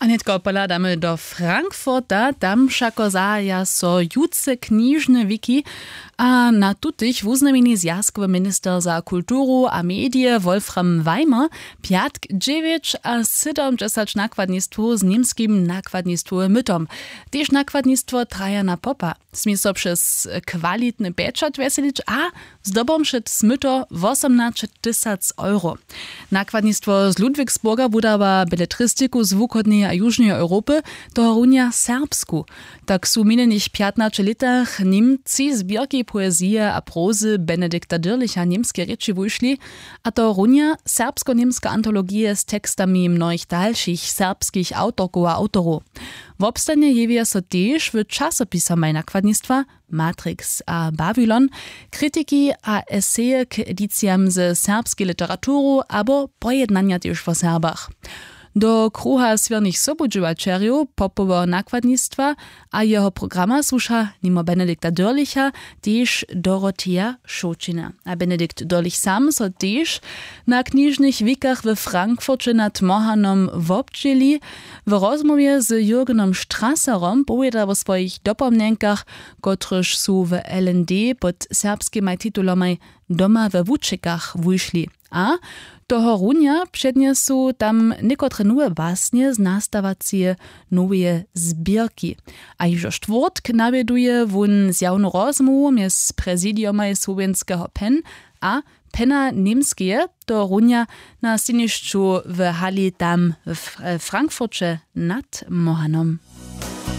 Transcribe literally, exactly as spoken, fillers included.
A nětko pohladamy do Frankfurta. Tam wšako zahaja so jutře knižne wiki, a na tutych wuznamjeni zwjazkowy minister za kulturu a medije Wolfram Weimer pjatk dźewjećasydomdźesać nakładnistwow z němskim nakładnistwowym mytom. Tež nakładnistwo Trajana Popa smě so přez kwalitny pečat wjeselić a zdobom wšět smyto wosomnaćetysac euro. Nakładnistwo z Ludwigsburga wudawa beletristiku z wuchodneje a južneje Europy, tohorunja serbsku. Tak su w minjenych pjatnaće lětach Němci zběrki poezije a prozy Benedikta Dyrlicha w němskej rěči wušli, a tohorunja serbsko-němske antologije z tekstami mnohich dalšich serbskich awtorkow a awtorow. Wobstanje jewja so tež w časopisamaj nakładnistwa Matrix a Babylon, kritiki a eseje k edicijam ze serbskej literaturu abo pojednanja tež wo Serbach. Do kruha swěrnych sobudźěłaćerjow Popoweho nakładnistwa a jeho programa słuša nimo Benedikta Dyrlicha tež Doroteja Šołćina. A Benedikt Dyrlich sam so tež na knižnych wikach we Frankfurće nad Mohanom wobdźěli. W rozmołwje z Jürgenom Strasserom powěda wo swojich dopomnjenkach, kotrychž su w L N D pod serbskimaj titulomaj Doma we wučekach wušli. A tohorunja přednjesu tam někotre nowe basnje z nastawaceje noweje zběrki. A hižo štwórtk nawjeduje wón zjawnu rozmołwu mjez prezidiomaj słowjenskeho pen a pena němskeje, tohorunja na stejnišću w hali tam w Frankfurće nad Mohanom.